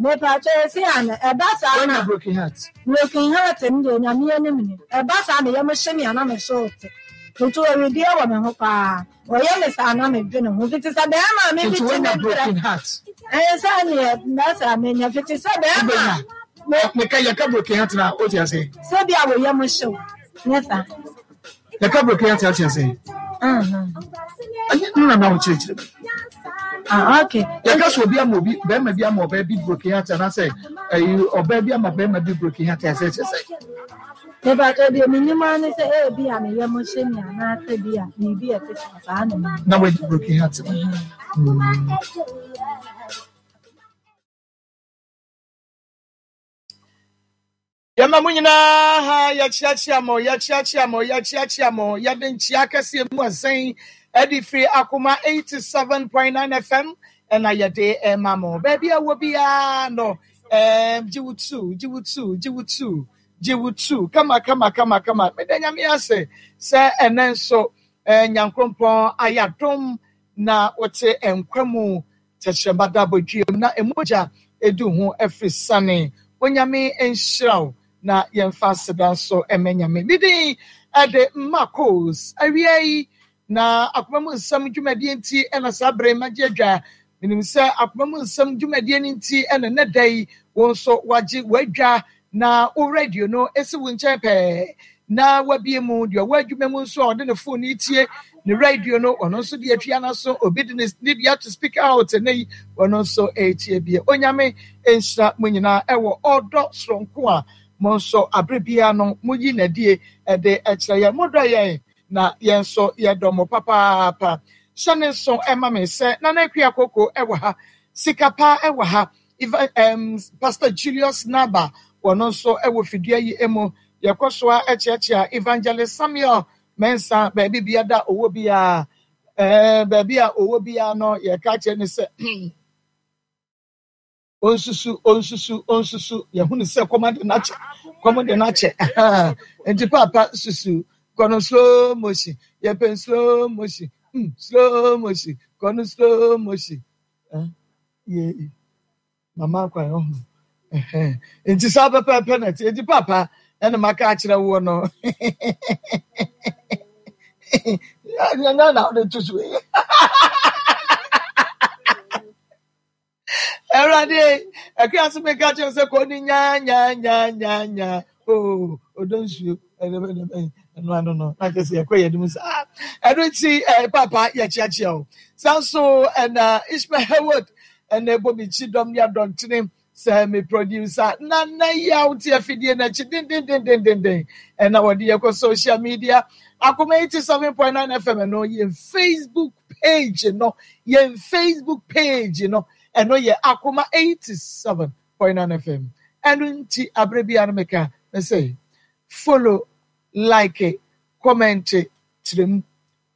Mepakyɛ esi ana ɛba saa na. Wanya broken heart. Broken heart no deɛ Nyame anim ni ɛba saa me yam hye me a na me so te meto awideɛ wɔ me ho paa ɔyɛ me saa na me dwene ho fiti sɛ bɛɛma a me Nti fiti me wanya brɛ broken heart. ɛɛ sɛ neɛ mɛsɛ a menya fiti sɛ bɛɛma a me Meka yɛka broken heart na wote ase. Sɛ bi a wo yam hye wo nyɛ saa. Yɛka broken heart ate ase. Ɛnyɛ no na na wokyerɛkyerɛ mu. Ah, okay. Yɛka sɛ obi ama obi bɛrima bi ama ɔbaa bi broken heart anaasɛ ɛyi ɔbaa bi ama bɛrima bi broken heart asɛ kyerɛ sɛ. Mepatɔ deɛ menim ara ne sɛ ebi a meyɛ mo hyɛ mi anaasɛ bi a biribi a ɛte saa saa na menim. Na wadi broken heart no. Mm. Yɛma mo nyinaa ha, yɛkyeakyea mo, yɛkyeakyea mo, yɛkyeakyea mo, yɛde nkyea kɛseɛ mu ɛsɛn ɛde firi Akoma 87.9 FM ɛna yɛde ɛma mo. Baabi a wɔ biara no, ɛɛm, gye wo tu, gye wo tu, gye wo tu, gye wo tu, kama kama kama kama. Meda Nyame ase sɛ ɛnɛ nso ɛɛ Nyankrompɔn ayɛ adom na wote nkwa mu Tɛkyerɛma da abɔdweam na mogya du ho afiri sane. Onyame nhyira wo na yɛmfa aseda nso mma Nyame. Me din de Marcos. Awia yi na akoma mu nsɛm dwumadie nti na saa bere magye adwa. Menim sɛ akoma mu nsɛm dwumadie no nti na nnɛ da yi wo nso wagye w'adwa na wo radio no si wo nkyɛn pɛɛ na wabue mu. Deɛ ɔwɔ adwuma mu nso a ɔde ne phone retie ne radio no, ɔno nso de atua n'aso. Obi de ne ne deɛ ato speaker out ɛnɛ yi, ɔno nso retie bie. Onyame nhyira mo nyinaa ɛwɔ ɔdɔ soronko a mo nso abere biara no moyi n'adie ɛde ɛkyerɛ yɛn. Modɔ yɛn na yɛn nso yɛdɔ mo papaapa. Hyɛ ne nso ɛma me sɛ Nana Akua Koko ɛwɔ ha, Sika Pa ɛwɔ ha, Eva um, Pastor Julius Naba, wɔn nso wɔ fidua yi mu. Yɛkɔ so a kyeakyea Evangelist Samuel Mensah baabi bia da ɔwɔ biara. Eh, baabi a ɔwɔ biara no, yɛka kyerɛ no sɛ onsusu, onsusu, onsusu. Yɛhunu sɛ kɔm ade no akyɛ, kɔm de no akyɛ. Nti paapa susu, kɔ no slow motion, yɛpɛ slow motion, mm, slow motion, kɔ no slow motion. Eh, yee, mama kwan ɔho. Ɛhɛn. Nti saa pɛpɛɛpɛ na ɛte. Nti papa ɛna maka akyerɛ woɔ no. Nyɛ na wode to so yi. Awurade, ɛkra so meka kyerɛ sɛ kɔ ne nya nya nya nya nya. Oh, ɔdɔ nsuo ɛno ano no na kyerɛ sɛ yɛkɔ yɛn anim saa ɛno nti eh, papa yɛkyeakyea o saa nso ɛna Ishmael Heward ɛna ɛbɔ me kyi dɔm ne adɔntene sɛ me producer na na yaw te afidie no akyi dendendendendenden ɛna wɔde yɛkɔ social media akoma 87.9 fm ɛno yɛn facebook page no yɛn facebook page no ɛno yɛ akoma 87 Poinan FM. Ɛno nti aberɛ biara no meka mese follow, like, comment, kyerɛ mu,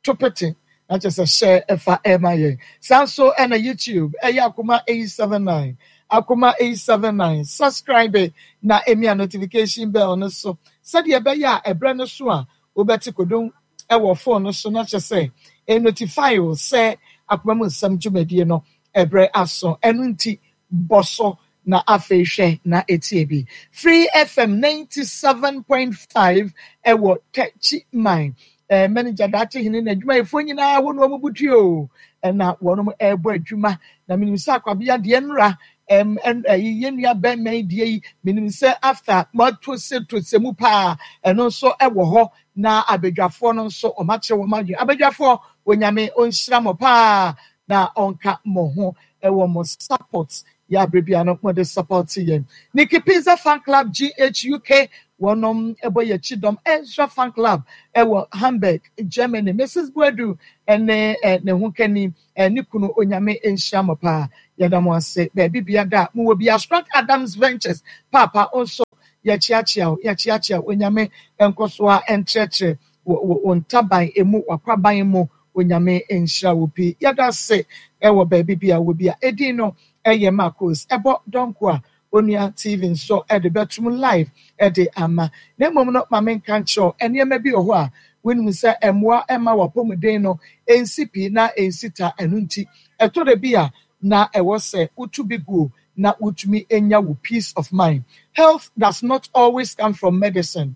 to pete na kyerɛ sɛ share ɛfa ɛma yɛn. Saa nso ɛna YouTube ɛyɛ Akoma 879, Akoma 879, subscribe na emia notification bell no so sɛdeɛ ɛbɛyɛ a ɛberɛ no so a wobɛte kodon ɛwɔ phone no so na kyerɛ sɛ ɛnotify wo sɛ Akoma mu nsɛm dwumadie no ɛberɛ aso. Ɛno nti Bɔ so na afei hwɛ na tie bi. Free FM 97.5 ɛwɔ Techiman. Eh, manager Daakye Hene na adwumayɛfoɔ nyinaa hɔ na wɔn butu o. Ɛna wɔn ɛrebɔ adwuma. Na menim sɛ akwabea deɛ nnora ɛm ɛyi yɛn nua bɛrima yi deɛ yi menim sɛ after moato se to se mu paa ɛno nso ɛwɔ hɔ na abadwafoɔ no nso wɔn akyerɛ wɔn adwene. Abadwafoɔ Onyame ɔnhyira mo paa na ɔnka mo ho ɛwɔ mo support yɛ abere bia no mo de support yɛn. Nikki Pizza Fan Club GHUK wɔnom ɛbɔ yɛ akyi dɔm Ezra Fan Club ɛwɔ Hamburg Germany Mrs Boadu ɛne ne ho kani ne kunu Onyame nhyira mo paa yɛda mo ase baabi bia da mo wɔ bia Strong Adams Ventures paapa nso yɛkyeakyea wo yɛkyeakyea wo Onyame nkɔsoa nkyerɛkyerɛ wɔ wo ntaban emu wakwaban mu Onyame nhyira wo pii. Yɛdase wɔ baabi bia wɔ bia. Edin no yɛ Marcos. Ɛbɔ dɔnko a Onua TV nso de bɛtom live de ama. Na mmom no ma menka nkyerɛ wo, nneɛma bi wɔ hɔ a wonim sɛ ɛmmoa mma w'apɔmuden no nsi pi na ɛnsi ta. Ɛno nti ɛtɔ da bi a na ɛwɔ sɛ wotu bi guo. na wotumi nya wo peace of mind. Health does not always come from medicine.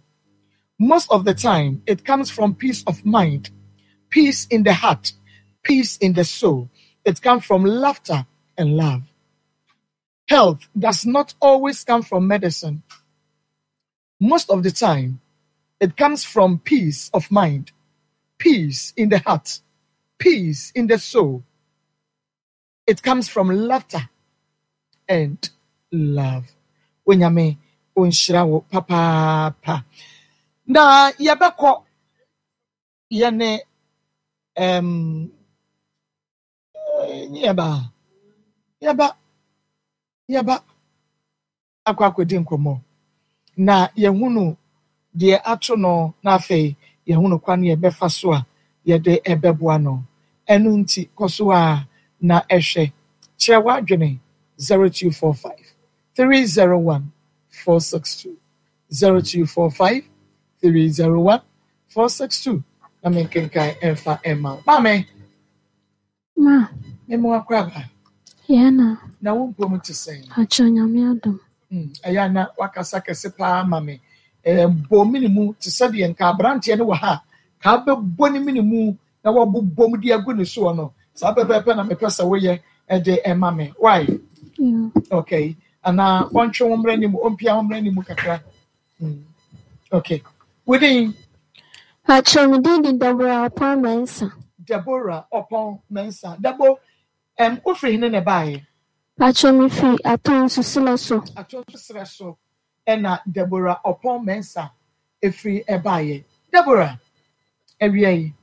Most of the time, it comes from peace of mind, peace in the heart, peace in the soul. It comes from laughter and love. Health does not always come from medicine. Most of the time, it comes from peace of mind, peace in the heart, peace in the soul. It comes from laughter and love. Onyame onhyira wo papaapa. Na yɛbɛkɔ yɛne um, yɛba yɛba yɛba akɔ akɔdi nkɔmmɔ na yɛhunu deɛ ato no na afei yɛhunu kwan yɛbɛfa so a yɛde ɛbɛboa no. Ɛno nti kɔ so a na ɛhwɛ kyerɛ w'adwene 0245 301 462 0245 301 462 na menkenkan ɛmfa ɛmma wo. Maame, Ma. Mema wo akwaaba. Yɛn na. Na wo mpom te sɛn? Akyɛ Nyame adom. Ɛyɛ a na wakasa kɛse paa ma me. Bɔ mene mu te sɛ deɛ nka aberanteɛ no wɔ ha a, ka bɛbɔ ne mene mu na wabobɔ mu de agu ne soɔ no. Saa pɛpɛɛpɛ na mepɛ sɛ woyɛ de ɛma me. Why? Yeah. Okay. Anaa ɔntwe wo mmra anim, ɔmpia wo mmra anim kakra. Okay. Wodin? Akyɛ me din de Deborah Ɔpɔn Mensah. Deborah Ɔpɔn Mensah. Debo, wofiri hene na ɛbaeɛ? Pakyɛ mefiri Atonsu serɛ so. Atonsu serɛ so ɛna Deborah Ɔpɔn Mensah ɛfiri ɛbaeɛ. Deborah, awia yi.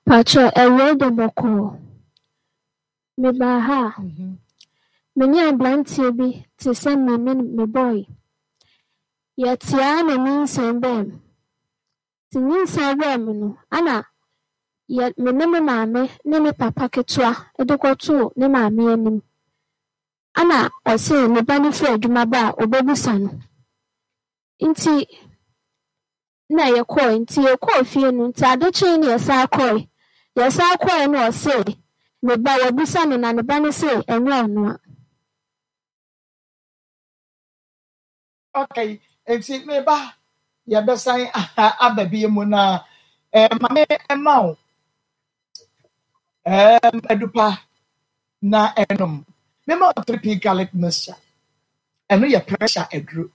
Pakyɛ awia yi de bɔkɔɔ. Mebaa ha a, me ne aberanteɛ bi te sɛ me ne me boy. Yɛte ara na nyinsɛn baa mu. Nti nyinsɛn baa mu no, ana yɛ me ne me maame ne me papa ketewa de kɔtoo ne maame anim. Ana ɔse ne ba no firi adwuma ba a, ɔbɛbusa no. Nti na yɛkɔe. Nti yɛkɔɔ fie no, nti ade kyee na yɛsan kɔe. Yɛsan kɔe no ɔse ne ba, wabisa no na ne ba no se ɛnyɛ ɔnoa. Okay, nti me ba, yɛbɛsan aba bi mu na ma me ma wo adupa na ɛnom. Mema wo 3P garlic mixture. Ɛno yɛ pressure aduro.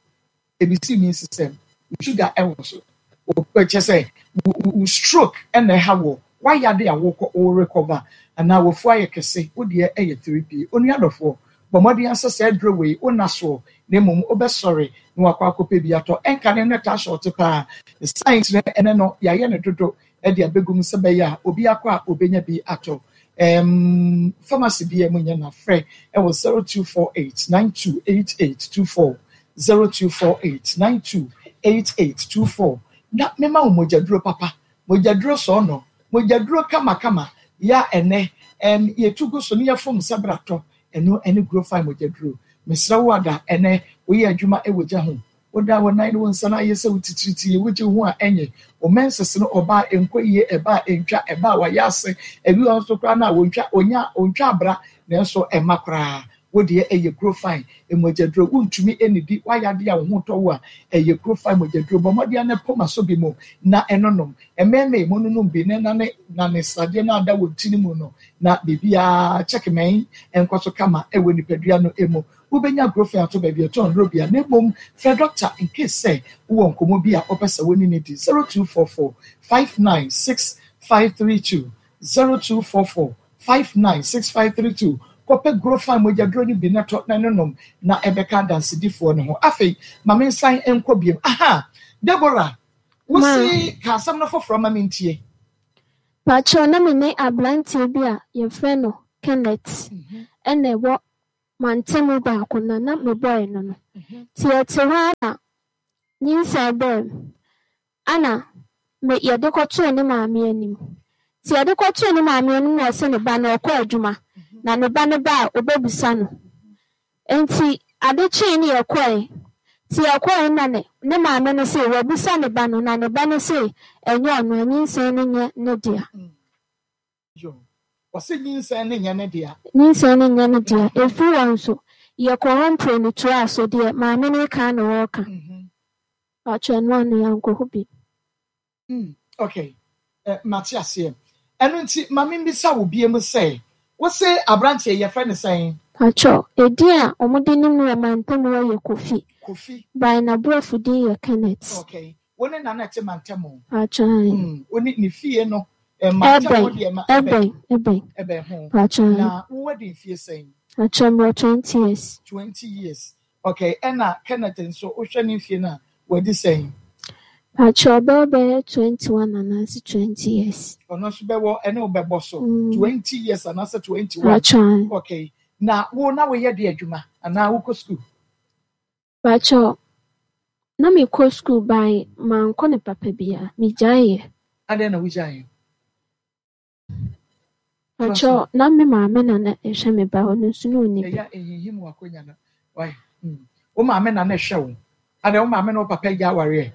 Ebi si immune system, wo sugar ɛwɔ so. Kyɛ sɛ wo stroke ɛna ɛha wɔ wayade a wokɔ wo recover anaa wafu ayɛ kɛse, wo deɛ ɛyɛ 3P. Onua dɔfoɔ, bɔ mmɔden asɛ saa aduro wei wo nna soɔ na mmom wobɛsɔre na wakɔ akɔpɛ bi atɔ. Ɛnka ne no taa short paa. Ne saa nti no ɛnɛ no yɛayɛ no dodo de abɛgu mu sɛ bɛyɛ a obi akɔ a obɛnya bi atɔ. Pharmacy bi a mu nyɛ na frɛ ɛwɔ 0248 928824 0248 928824 na mema wo mogyaduro papa, mogyaduro sɔɔnɔ, mogyaduro kamakama ya ɛnɛ yɛtu gu so ne yɛfom sɛ bratɔ ɛno ɛne Grofine mogyaduro. Mesrɛ wo ada ɛnɛ woyɛ adwuma ɛwɔ gya ho, woda wo nan ne wo nsa no ayɛ sɛ wo titiritii, wogye wo ho a ɛnyɛ wo menses no ɔbaa ɛnkɔ yie, ɛba a ɛntwa, ɛba a wayɛ ase, ebi wɔ nso koraa no a wɔntwa, ɔnya ɔntwa abra nanso ɛma koraa. Wo deɛ ɛyɛ Grofine mogyaduro, wontumi nnidi, woayɛ adeɛ a wo ho tɔ wo a, ɛyɛ Grofine mogyaduro. Bɔ mmɔden ara na pom asɔ bi mu na ɛnonom. Mmarima yi, mononom bi na ɛnane nane sradeɛ no a ada wɔn ti no mu no na biribiara kyɛkemɛn nkɔ so kama wɔ nipadua no mu. Wobɛnya Grofane ato baabi a ɛtɔn nnuro biara, na mmom frɛ dɔkta in case sɛ wowɔ nkɔmmɔ bi a wopɛ sɛ wo ne no di, 0244 596 532, 0244 596 532. Kɔpɛ Grofane mogyaduro no bi na tɔ na nonom na ɛbɛka adansedifoɔ no ho. Afei ma mensan nkɔ biom. Aha! Deborah, wo se ka asɛm no foforɔ ma mentie. Pakyɛw, na me ne aberanteɛ bi a yɛfrɛ no Kenneth na ɛwɔ mantamu baako na na mebɔe no no. Nti yɛte hɔ ara na nyinsɛn baa mu ana me yɛde kɔtoo ne maame anim. Nti yɛde kɔtoo ne maame anim na ɔse ne ba no ɔkɔ adwuma na ne ba no ba a ɔbɛbisa no. Nti ade kyee ne yɛkɔe. Nti yɛkɔe na ne ne maame no se wabisa ne ba no na ne ba no se ɛnyɛ ɔno a nyinsɛn no nyɛ ne dea. Ɔse nyinsɛn no nyɛ ne dea. Nyinsɛn no nyɛ ne dea. Ɛfiri hɔ nso, Yɛkɔɔ hɔ mprenu toaa so, deɛ maame no reka ara na ɔreka. Paatwɔ ɛno ano yɛankɔ hɔ bio. Mm, okay. Eh, mate aseɛ. Ɛno nti, ma membisa wo biom sɛ, wo se aberanteɛ yi, yɛfrɛ no sɛn? Paatwɔ, edin a wɔde nim no wɔ mantam hɔ yɛ Kofi. Kofi. By n'aborɔfo din yɛ Kenneth. Okay. Wo ne Nana te mantam o? Paatwɔ, ae. Mm, wo ne ne fie no, eh, mantam hɔ Ɛbɛn, deɛ ma ɛbɛn. ɛbɛn, ɛbɛn. Ɛbɛn ho. Paatwɔ, ae. Na wo wadi mfie sɛn? Paatwɔ, mewɔ 20 years. 20 years. Okay, ɛna Kenneth nso, wohwɛ ne mfie no a, wadi sɛn? Pakyɛ ɔbɛwɔ bɛyɛ 21 anaasɛ 20 years. Ɔno nso bɛwɔ ɛne wo bɛbɔ so 20 years anaasɛ 21. Pakyɛ. Okay, na wo na woyɛ de adwuma anaa wokɔ sukuu? Pakyɛ na mekɔ sukuu by mankɔ no papa biara, megyaeɛ. Adɛn na wogyaeɛ? Pakyɛ na me maame na na ɛhwɛ me ba ɔno nso na ɔnni bi. Ɛyɛ a ɛhinhim w'akonya no why mm wo maame na na ɛhwɛ wo adɛn wo maame ne wo papa agya awareɛ?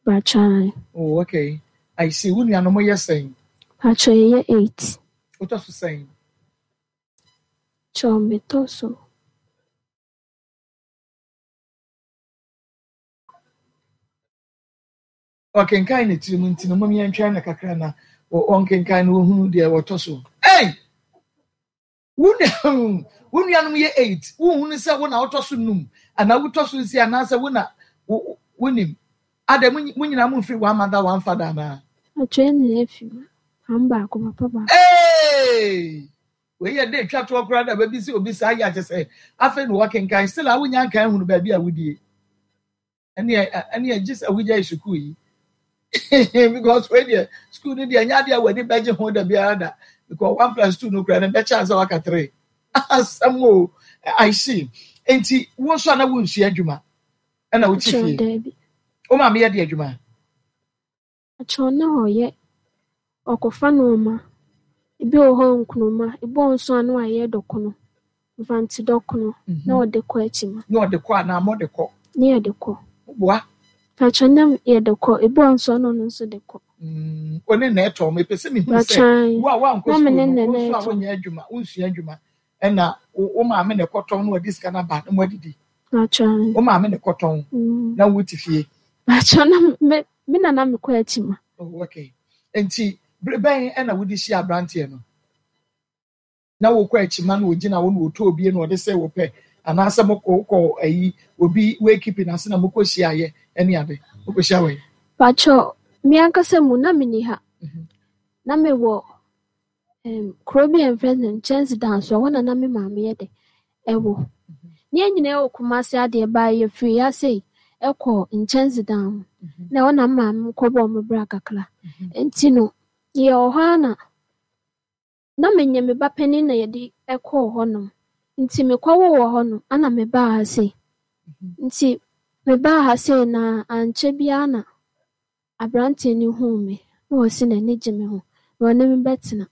Pakyɛ ae. Oh okay I see wo nuanom yɛ sɛn? Pakyɛ yɛyɛ eight. Wotɔ so sɛn? Kyɛw metɔ so. Ɔkenkan ne tirim nti no, mom yɛntwɛn no kakra na ɔnkenkan na ɔhunu deɛ wɔtɔ so. Ei! Wo wo nuanom yɛ eight, wonhunu sɛ wo na wotɔ so num anaa wotɔ so nsia anaasɛ wo na wonim. Adɛn, mo nyinaa momfiri one mother one father anaa? Atwa yɛn nyinaa fi maame baako papa baako. Hey! Wei yɛ de twa toɔ koraa da baabi sɛ obi saa yɛ akyɛ sɛ afei na wɔkenkan still a wonya nkan hunu baabi a wodie. Ɛneɛ ɛneɛ gye sɛ wogyae sukuu yi because wei deɛ sukuu no deɛ ɛnyɛ adeɛ a w'ani bɛgye ho da biara da because 1 plus 2 no koraa no bɛkyɛ ansa waka three. Asɛm o, I see. Nti wo nso a na wonsua adwuma ɛna wote Kyerɛ fie? daabi. Wo maame yɛ de adwuma? Akyerɛ na ɔyɛ ɔkɔfa nneɛma. Ebi wɔ hɔ nkruma, ebi wɔ hɔ nso a na wayɛ dɔkono, mfantse dɔkono na ɔde kɔ akyima. Na ɔde kɔ anaa mɔde kɔ? Ne yɛde kɔ. Woboa? Akyerɛ na yɛde kɔ, ebi wɔ hɔ nso a na ɔno nso de kɔ. Wo ne na ɛtɔ. Mepɛ sɛ mehunu sɛ Akyerɛ wo a woankɔ na me sukuu ne no, na wo na nso a ɛtɔ. wonyɛ adwuma, wonsua adwuma, ɛna wo maame na ɛkɔtɔn na ɔde sika no aba na moadidi. Akyerɛ. Wo maame na ɛkɔtɔn na wote fie. Akyerɛ na me na na mekɔ akyima. Oh, okay. Nti bere bɛn ɛna wode hyia aberanteɛ no? Na wokɔ akyima na ogyina wo na ɔtɔ obie na ɔde sɛ wopɛ anaasɛ mokɔ wokɔ ayi obi wakeeping ase na mokɔ hyiaeɛ ɛne ade wokɔhyia wɔ yi? Pakyɛ me ankasa mu na menni ha. Na mewɔ kuro bi a yɛfrɛ no Nkyɛnsedan so, ɛhɔ na na me maame yɛ dɛ ɛwɔ. Ne yɛn nyinaa wɔ Kumasi adeɛ baa yɛfiri ha sei ɛkɔ Nkyɛnsedan ho. Na ɛhɔ na me maame kɔbɔɔ me bra kakra. Nti no yɛwɔ hɔ ara na na menyɛ me ba panin na yɛde ɛkɔɔ hɔnom. Nti mekɔwoo wɔ hɔ no ana mebaa ha sei. Nti mebaa ha sei na ankyɛ biara na aberanteɛ no huu me na ɔse n'ani gye me ho na ɔne me bɛtena.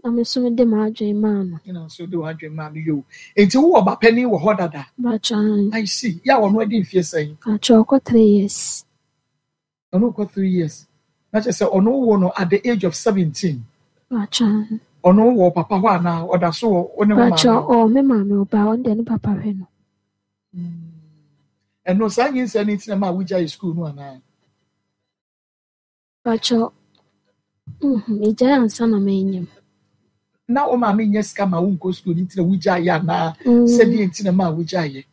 Na me nso mede m'adwene maa no. Ɛna nso de w'adwene maa no yoo. Nti wowɔ ba panin wɔ hɔ dada? Bakyɛ. I see. Yɛ a ɔno adi mfie sɛn? Bakyɛ ɔkɔ 3 years. Ɔno kɔ 3 years. Na kyerɛ sɛ ɔno wo no at the age of 17. Bakyɛ. Ɔno wɔ papa hɔ anaa ɔda so wɔ wo ne wo maame Bakyɛ hɔ? ɔwɔ me maame ɔbaa ɔno deɛ ne papa hwɛ no. Ɛno saa nyinsɛn no nti na ma wogyae sukuu no anaa? Bakyɛ megyae ansa na manyam. Na wo maame nyɛ sika ma wonkɔ sukuu no nti na wogyaeɛ anaa sɛdeɛ nti na ma wogyaeɛ?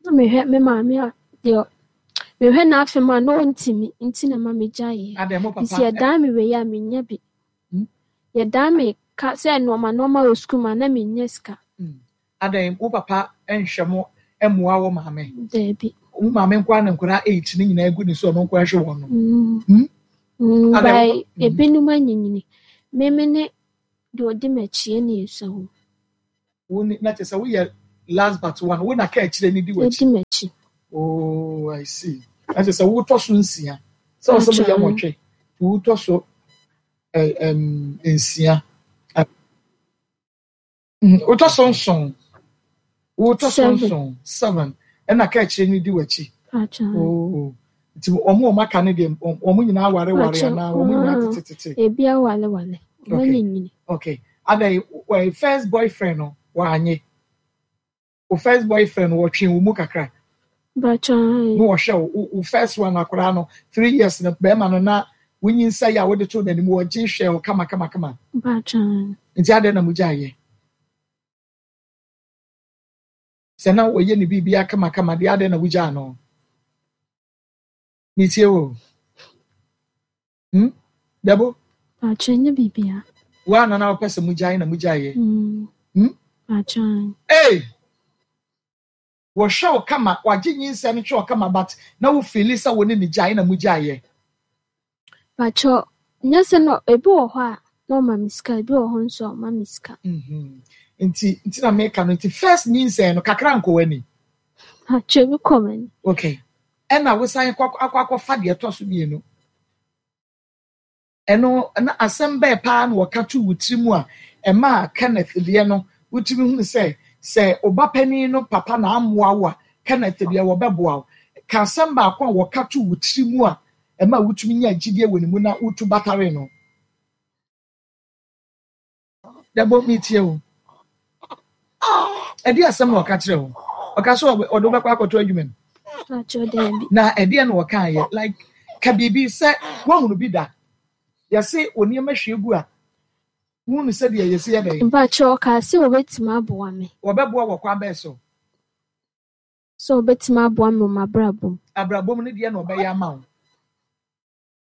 Na mehwɛ me maame a deɛ mehwɛ n'afɛm a na ɔntumi nti na ma megyaeɛ. Adɛn mo papa Nti yɛdan me wei a menya bi. Yɛdan me ka sɛ nneɛma nneɛma wɔ sukuu mu a na menya sika. Adɛn wo papa nhwɛ mo mmoa wo maame? Daabi. Wo maame nko ara ne nkwadaa eight ne nyinaa gu ne so ɔno nko ara hwɛ wɔn no. Adɛn By ebinom anyinyini. Meme ne deɛ ɔdi m'akyi ɛne esua wɔ mu. Wo ne na kyerɛ sɛ woyɛ last but one wo na ka akyire ne di w'akyi. Ɛdi m'akyi. Oh, I see. Na kyerɛ sɛ wotɔ so nsia. Sɛ ɔsɛ mo yɛ nwɔtwe, wotɔ so nsia. Wotɔ so nson. Wotɔ so nson, seven. Ɛna ka akyire ne di w'akyi. Oh. Nti wɔn a wɔn aka no deɛ wɔn nyinaa aware ware anaa wɔn nyinaa tetetete. Ebi aware ware. Wɔn Okay. anyinyini. Okay. Adan first boyfriend no wanye. Wo first boyfriend wɔtwe wo mu kakra. Mpakyɛ ae. Na wɔhwɛ wo, wo first one akwadaa no 3 years no bɛrima no na wonyinsɛe a wode too n'anim, wɔgye hwɛ wo kama kama kama. Mpakyɛ ae. Nti adɛn na mogyaeɛ? Sɛ na wɔyɛ ne biribiara kama kama deɛ, adɛn na wogyaa no? Metie wo. Dɛbo? Mpakyɛ, nyɛ biribiara. Wo a na na wopɛ sɛ mogyae na mogyaeɛ. Mpakyɛ ae. Hey! Wɔhwɛ wo kama, wagye nyinsɛn no hwɛ wo kama, but na wo feeli sɛ wo ne ne gyae na mogyaeɛ. Mpakyɛ, nyɛ sɛ no, ebi wɔ hɔ a na ɔma me sika, ebi wɔ hɔ nso a ɔma me sika. Nti na meka no, nti first nyinsɛn no kakra nkɔ w'ani? Mpakyɛ, ebi kɔ m'ani. Okay. Ɛna wosan kɔ akɔ akɔfa deɛ ɛtɔ so mmienu. Ɛno na asɛm bɛɛ paa na wɔka too wo tiri mu a ɛmaa Kenneth deɛ no wotumi hunu sɛ sɛ wo ba panin no papa na ammoa wo a, Kenneth deɛ wɔbɛboa wo. Ka asɛm baako a wɔka too wo tiri mu a ɛma wotumi nyaa gyidie wɔ ne mu na wotu bataree no. Dɛbɔ, metie wo. Ɛdeɛ asɛm na ɔka kyerɛ wo? Ɔka sɛ ɔde wobɛkɔ akɔtɔ adwuma mu? Na ɛdeɛ na ɔka yɛ like ka biribi sɛ woahunu bi da. Yɛse wo nneɛma hwie gu a, wohunu sɛdeɛ yɛsi yɛ dɛn? Mpakyɛ, ɔkaa sɛ wɔbɛtumi aboa me. Wɔbɛboa wɔ kwan bɛn so? Sɛ wɔbɛtumi aboa me wɔ m'abrabɔ mu. Abrabɔ mu no deɛ na ɔbɛyɛ ama wo?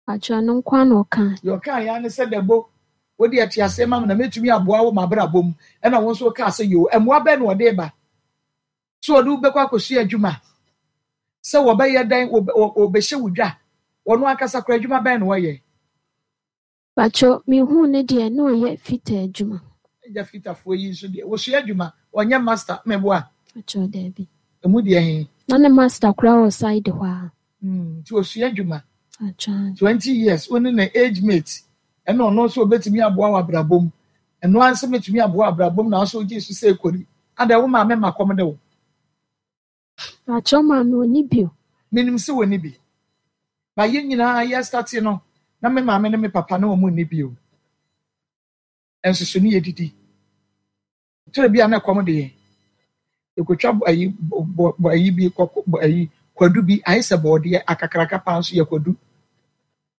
Mpakyɛ, ɛno nko ara na ɔkaa. Deɛ ɔkaa yɛ ara ne sɛ, Dɛbo, wo deɛ te aseɛ ma me na mɛtumi aboa wo m'abrabɔ mu. Ɛna wo nso wokaa sɛ, Yoo. Mmoa bɛn na ɔde reba? Sɛ ɔde wo bɛkɔ akɔsua adwuma? Sɛ wɔbɛyɛ dɛn? Wɔbɛhyɛ wo dwa? Ɔno ankasa koraa adwuma bɛn na ɔyɛ? Mpakyɛ, mehuu no deɛ na ɔyɛ fita adwuma. Agya fitafoɔ yi nso deɛ, wɔsua adwuma, ɔnyɛ master, meboa? Mpakyɛ, daabi. Ɛmu deɛ he? Na ne master koraa wɔ side hɔ ara. Nti ɔsua adwuma. Mpakyɛ. 20 years, wo ne ne age mate, ɛna ɔno nso ɔbɛtumi aboa wo abrabɔ mu. Ɛno ara nso mɛtumi aboa wo abrabɔ mu na wo nso wogyee so sɛ kori. Adɛn, wo maame ma kɔm de wo? Mpakyɛ, maame ɔnni bi o. Menim sɛ wɔnni bi. Ba yɛn nyinaa yɛ starte no, na me maame ne me papa na wɔn nni bi o. Nso so ne yɛdidi. Twerɛ bi a na ɛkɔm de yɛn. Yɛkɔtwa ayi bɔ bɔ ayi bi kɔkɔ bɔ ayi kwadu bi ayɛ sɛ bɔɔdeɛ akakraka paa nso yɛ kwadu.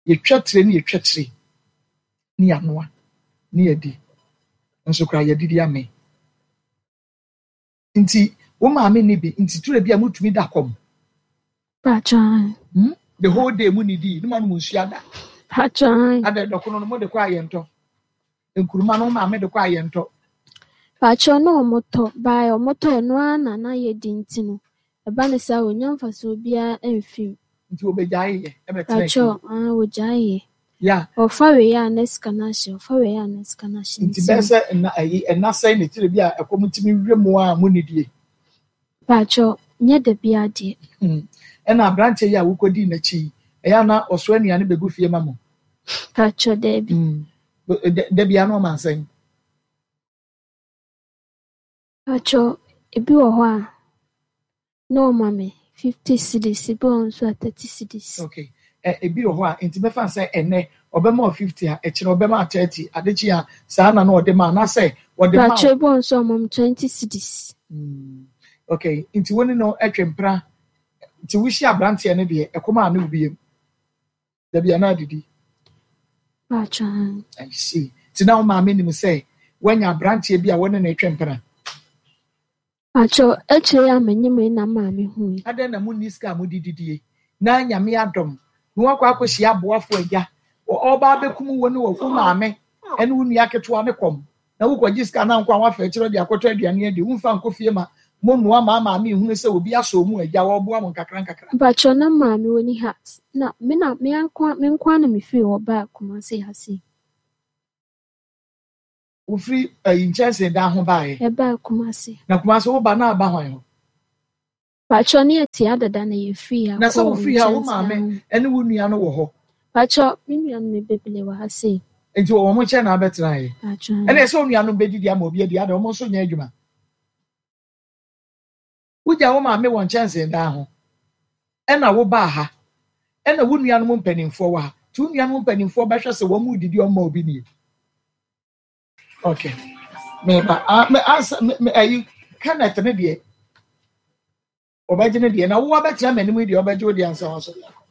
Yɛtwa tire ne yɛtwa tire ne yɛanoa ne yɛdi. Nso koraa yɛdidi amee. Nti wo maame nni bi nti twerɛ bi a motumi da kɔm? Mpakyɛ ae. The whole day mo nidii ne mo anom nsuo ada? Mpakyɛ ae. Adɛ dɔkono no mo de kɔ ayɛntɔ? Nkuruma no wo maame de kɔ ayɛntɔ? Mpakyɛ na ɔmo tɔ, by ɔmo tɔ ɛno ara na na yɛdi nti no ɛba no saa ɔnnya mfasoɔ biara mfiri mu. Nti wɔbɛgyae yɛ ɛbɛtena Mpakyɛ fie? ae wɔgyae yɛ. Yeah. Ɔfa wei a na sika no ahye, ɔfa wei a na sika no ahye Nti nti bɛyɛ no. sɛ nna ayi ɛna sɛn na etire bi a ɛkɔm ntumi wie mo a mo nidie? Mpakyɛ, nyɛ da biara deɛ. Ɛna aberanteɛ yi a wokɔdii n'akyi yi, ɛyɛ a na ɔsoa nnuane bɛgu fie ma mo? Mpakyɛ, daabi. Da biara na ɔma nsɛn? Mpakyɛ, ebi wɔ hɔ a na ɔma me 50 cedis, ebi wɔ hɔ nso a 30 cedis. Okay. Ebi wɔ hɔ a, nti mɛfa no sɛ ɛnnɛ ɔbɛma wo 50 a, ɛkyena ɔbɛma wo 30, ade kye a saa na na ɔde ma anaasɛ ɔde ma wo. Mpakyɛ, ebi wɔ hɔ nso a ɔma me 20 cedis. Okay, nti wo ne no twe mpena, nti wohyia aberanteɛ no deɛ, ɛkɔm a ne wo biem? Dabi anaa didi? Mpakyɛ. I see. Nti na wo maame nim sɛ woanya aberanteɛ bi a wo ne no retwe mpena? Mpakyɛ, akyire yi a menyem yi na maame hui. Adɛn na monni sika a mode didie? Na Nyame adom na woakɔ akɔhyia aboafo agya, ɔreba abɛkum wo ne wo maame ne wo nua ketewa ne kɔm, na wokɔgye sika na nko a woafa akyire de akɔtɔ aduane adi, womfa nkɔ fie ma monnoa ma maame nhunu sɛ obi asɔ mu agya ɔreboa mo nkakra nkakra. Mpakyɛ, na maame ɔnni ha, na me na me nko ara na mefiri hɔ baa Kumasi ha sei. Wofiri ayi nkyɛnsee dan ho baeɛ? Ɛbaa Kumasi. Na Kumasi woba na aba hwan hɔ? Pakyɛ, ne yɛte ha dada na yɛfiri ha Na sɛ kɔɔ wofiri ha wo nkyɛnsee maame dan ho. ne wo nua no wɔ hɔ? Pakyɛ, me nuanom bebree wɔ ha sei. Nti wɔ wɔn nkyɛn na abɛtenaeɛ? Pakyɛ. Ɛna ɛsɛ wo nuanom bɛdidi ama obi adi, adɛn wɔn nso nyɛ adwuma? Wogyaa wo maame wɔ nkyɛnsee dan ho, ɛna wobaa ha, ɛna wo nuanom mpanimfoɔ wɔ ha. Nti wo nuanom mpanimfoɔ bɛhwɛ sɛ wɔn redidi wɔn ma obi nie. Okay. Meba. Ah, me ansa me, me ayi Kenneth ne deɛ. Ɔbɛgye ne deɛ na wo abɛtena m'anim yi deɛ ɔbɛgye wo deɛ ansa wasɔre akɔ.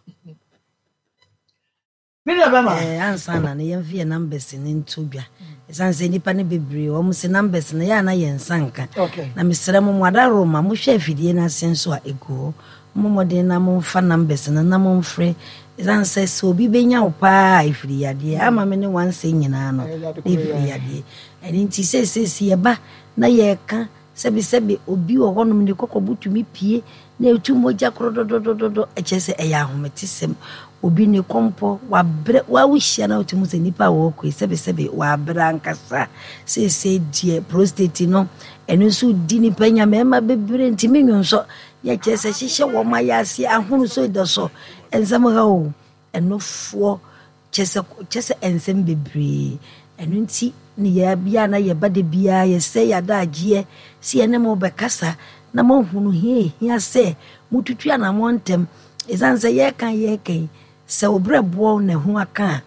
Me nua bɛma. Eh, ansa na no yɛmfa yɛn numbers no nto dwa. Ɛsiane sɛ nnipa no bebree wɔn se numbers no yɛ a na yɛn nsa nka. Okay. Na mesrɛ mo mo adaworoma mohwɛ afidie no ase nso a ɛgu hɔ. Mommɔ mmɔden na momfa numbers no na momfrɛ. Ɛsiane sɛ sɛ obi bɛnya wo paa a ɛfiri yadeɛ. Ama me ne wansɛ nyinaa no Ɛyɛ na ɛfiri yadeɛ. yadeɛ. Ɛno nti seesei yɛba na yɛreka Sɛbesɛbe obi wɔ hɔnom ne kɔkɔbo tumi pue na etu mogya korodɔdɔdɔdɔ, ɛkyerɛ sɛ ɛyɛ ahometesɛm. Obi ne kɔmpɔ, wabrɛ, wo a wohyia no a wotumi hu sɛ nipa a wɔrekɔ yi, sɛbesɛbe wabrɛ ankasa. Seesei deɛ prostate no, ɛno nso di nipa nya, mmarima bebree ntumi nwonsɔ, yɛ kyerɛ sɛ hyehyɛ wɔn ayaase, ahono so da so, nsɛm ha o, ɛnofoɔ. Kyerɛ sɛ, kyerɛ sɛ nsɛm bebree. Ɛno nti ne yɛ bia na yɛba da biara yɛsɛe yɛn adagyeɛ sɛ yɛne mo bɛkasa na moahunu hia ɛhia sɛ motutu anammɔn ntɛm. Ɛsiane sɛ yɛreka yɛreka yi, sɛ wo berɛboɔ na ɛho aka a,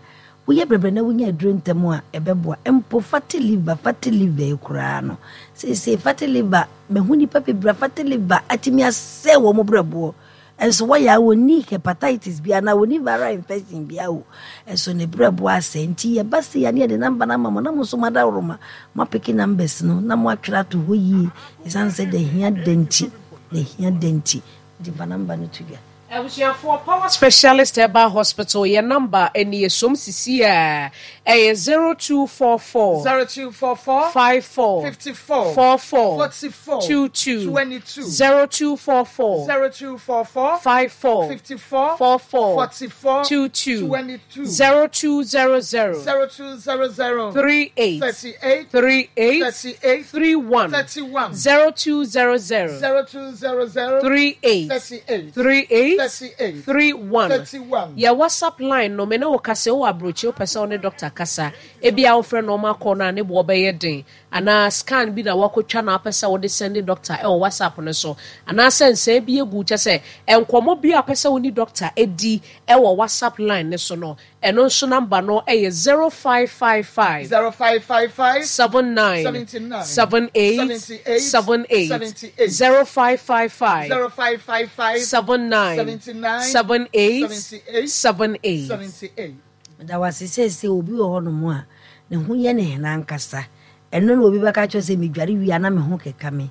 woyɛ brɛbrɛ na wonya aduro ntɛm a, ɛbɛboa. Mpo fatty liver, fatty liver yi koraa no, seesei fatty liver, mahu nnipa bebree a fatty liver atumi asɛe wɔn berɛboɔ. Nso wɔyɛ a wɔnni hepatitis biara anaa wɔnni viral infection biara o, nso ne berɛboɔ asɛe. Nti yɛba sei a ne yɛde number no ama mo na mo nso moadaworoma moapeke numbers no na moatwerɛ ato hɔ yie ɛsiane sɛ da hia da nti, da hia da nti. Nti fa number no to dwa. Abusuafoɔ, Power Specialist Herbal Hospital yɛn number nie, som sisi a, ɛyɛ 0244 0244 54 54 44 44 22 22 0244 0244 54 54 44 44 22 22 0200 0200 38 38 38 38 31 31 0200 0200 38 38 38 38 31 31 Yɛ WhatsApp line no, me ne wo kasa, wowɔ abrokyi wopɛ sɛ wo ne doctor kasa, ebia wofrɛ no ɔma kɔ no a ne boɔ bɛyɛ den, anaa scan bi na woakɔtwa na wopɛ sɛ wode sɛnde doctor ɛwɔ WhatsApp no so, anaasɛ nsɛe bi agu kyɛ sɛ nkɔmmɔ bi a wopɛ sɛ wo ne doctor di ɛwɔ WhatsApp line no so no, ɛno nso number no ɛyɛ 0555 0555 79 79 78 78 78 78 0555 0555 79 79 78 78 78. 78. Meda wo ase seesei obi wɔ hɔnom a ne ho yɛ no hena ankasa. Ɛno na obi bɛka kyerɛ sɛ medware wie a na me ho keka me.